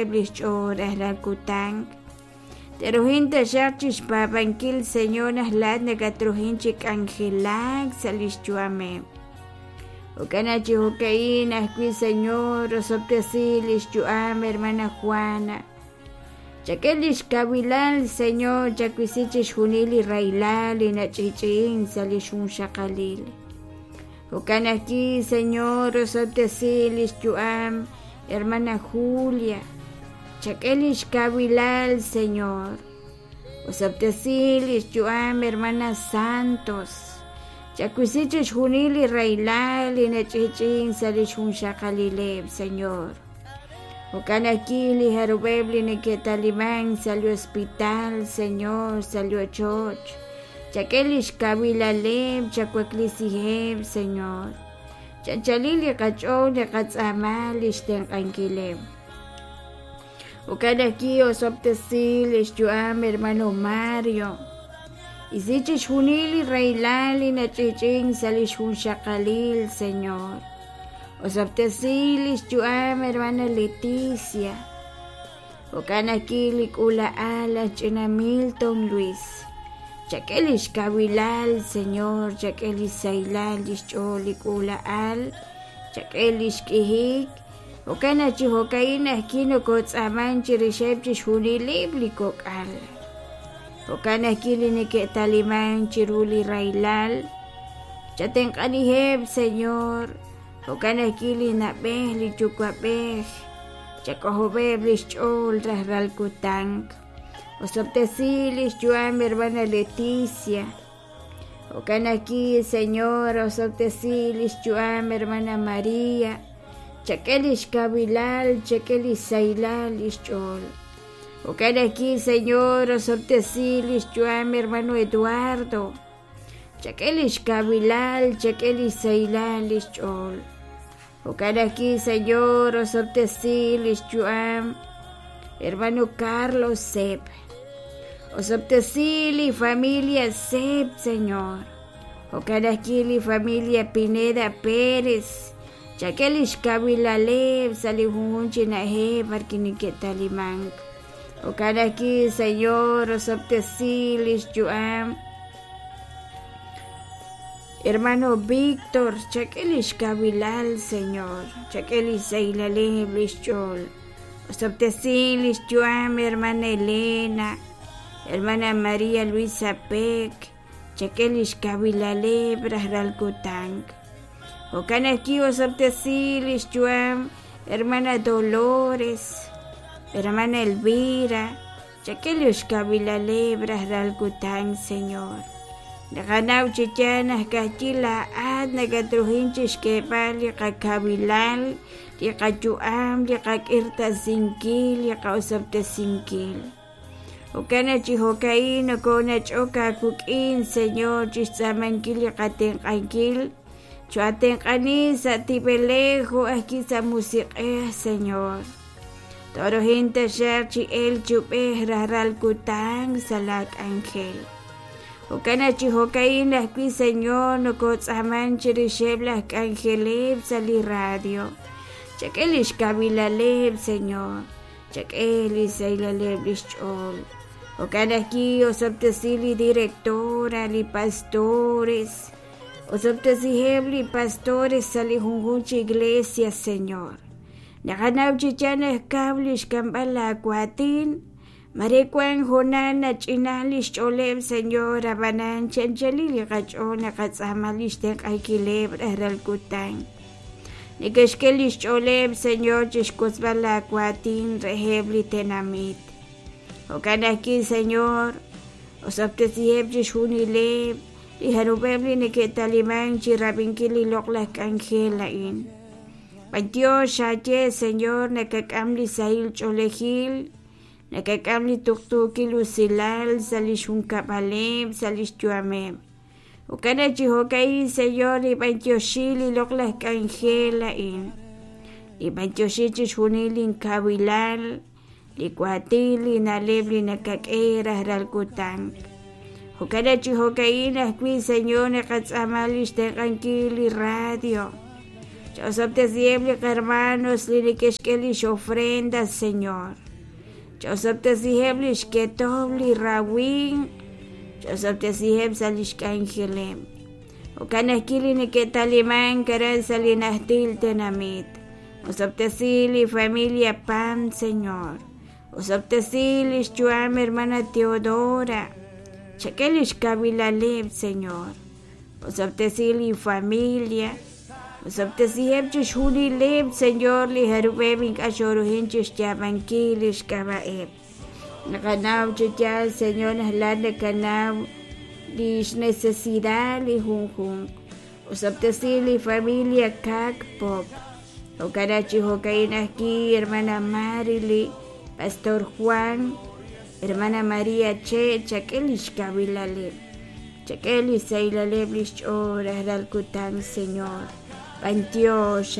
Li xch'ool rajlal kutan. Te'ruhin taxaq chixpaab'ankil, Señor, naq laa'at nakatruhin chi k'anjelak sa' lix yu'ameb'. Jo'kan naq chi jo'ka'in ajwi', Señor, osob'tesi lix yu'am hermana Juana. Chak'e lix kawilal, Señor, chawisi chixjunil li rahilal li nach'i'ch'i'in sa' lix junxaqalil. Jo'kan ajwi', Señor, osob'tesi lix yu'am hermana Julia. Chak'e lix kawilal, Señor. Osob'tesi lix yu'am hermana Santos. Chawisi chixjunil li rahilal li nach'i'ch'i'in sa' lix junxaqalileb', Señor. Jo'kan ajwi' li jarub'eb' li neke'taliman sa' li hospital, Señor, sa' li ochoch. Chak'e lix kawilaleb', chawaklisiheb', Señor. Chanchalil li qach'ool naqatz'aama lix tenq'ankileb'. Jo'kan ajwi' osob'tesi lix yu'am hermano Mario. Isi chixjunil li rahilal li nach'i'ch'in sa' lix junxaqalil, Señor. Osob'tesi lix yu'am hermana Leticia. Jo'kan ajwi' li k'uula'al aj ch'ina Milton Luis. Chak'e lix kawilal, Señor, chak'e lix sahilal lix ch'ool li k'uula'al, chak'e lix k'ihik. Jo'kan naq chi jo'ka'in ajwi' nokotz'aaman chirixeb' chixjunileb' li kok'al. Jo'kan ajwi' li neke'taliman chiru li rahilal. Chatenq'aniheb', Señor. Jo'kan ajwi' li na'b'ej li yuwa'b'ej, chak'ojob'eb' lix ch'ool rajlal kutan. Osob'tesi lix yu'am hermana Leticia. Jo'kan ajwi', Señor, osob'tesi lix yu'am hermana María. Chak'e lix kawilal, chak'e lix sahilal lix ch'ool. Jo'kan ajwi', Señor, osob'tesi lix yu'am hermano Eduardo. Chak'e lix kawilal, chak'e lix sahilal lix ch'ool. Jo'kan ajwi', Señor, osob'tesi lix yu'am hermano Carlos Sepp. Osob'tesi li familia Sepp, Señor. Jo'kan ajwi' li familia Pineda Pérez. Chak'e lix kawilaleb' sa' li junjunq chi na'ajej b'ar wi' neke'talimank. Jo'kan ajwi', Señor, osob'tesi lix yu'am hermano Víctor, chak'e lix kawilal, Señor, chak'e lix sahilaleb' lix ch'ool. Osob'tesi lix yu'am hermana Elena, hermana María Luisa Peck, chak'e lix kawilaleb' rajlal kutan. Jo'kan ajwi' osob'tesi lix yu'am hermana Dolores, hermana Elvira, chak'e lix kawilaleb' rajlal kutan, Señor. Naqanaw chi yaal naq ka'ajwi' laa'at nakatruhin chixk'eeb'al li qakawilal, li qayu'am, li qak'irtasinkil, li qa'osob'tesinkil. Jo'kan naq chi jo'ka'in nokonach'ok aawik'in, Señor, chixtz'aamankil li qatenq'ankil. Cho'atenq'ani sa' tib'elej jo' ajwi' sa' musiq'ej, Señor. Tooruhin taxaq chi elk chi ub'ej rajlal kutan sa' laa k'anjel. Jo'kan naq chi jo'ka'in ajwi', Señor, nokotz'aaman chirixeb' laj k'anjeleb' sa' li radio. Chak'e lix kawilaleb', Señor. Chak'e li sahilaleb' lix ch'ool. Jo'kan ajwi' osob'tesi li directora, li pastores. Osob'tesiheb' li pastores sa' li junjunq chi iglesia, Señor. Naqanaw chi yaal naq kaw lix k'amb'al laa waatin. Mare wan hoonal nach'ina lix ch'ooleb', Señor, ab'anan chi anchalil li qach'ool naqatz'aama lix tenq'ankileb' rajlal kutan. Neke'xk'e lix ch'ooleb', Señor, chixwotzb'al laa waatin reheb' li tenamit. Jo'kan ajwi', Señor, osob'tesiheb' chixjunileb' li jarub'eb' li neke'taliman chirab'inkil li loq'laj k'anjel a'in. B'antiox aaye, Señor, nakak'am li sahil ch'oolejil, nakak'am li tuqtuukil usilal sa' lix junkab'aleb', sa' lix yu'ameb'. Jo'kan naq chi jo'ka'in, Señor, nib'antioxi li loq'laj k'anjel a'in. Nib'antioxi chixjunil linkawilal, li waatin, li na'leb' li nakak'e rajlal kutan. Jo'kan naq chi jo'ka'in ajwi', Señor, naqatz'aama lix tenq'ankil li radio. Ch'osob'tesiheb' li hermanos li neke'xk'e lix ofrenda, Señor. Ch'osob'tesiheb' lix ketomq li rawimq. Ch'osob'tesiheb' sa' lix k'anjeleb'. Jo'kan ajwi' li neke'talimank aran sa' li najtil tenamit. Osob'tesi li familia Pam, Señor. Osob'tesi lix yu'am hermana Teodora. Chak'e lix kawilaleb', Señor. Osob'tesi li familia. Osob'tesiheb' chixjunileb', Señor, li jarub'eb' ink'a' xoruhin chixyaab'ankil lix k'ab'a'eb'. Naqanaw chi yaal, Señor, naq laa'at nakanaw lix necesidad li junjunq. Osob'tesi li familia Kak Pop. Jo'kan chi jo'ka'in ajwi', hermana Marily, Pastor Juan, hermana María Che, chak'e lix kawilaleb'. Chak'e li saylaleb' lix ch'ool rajlal kutan, Señor. B'antiox.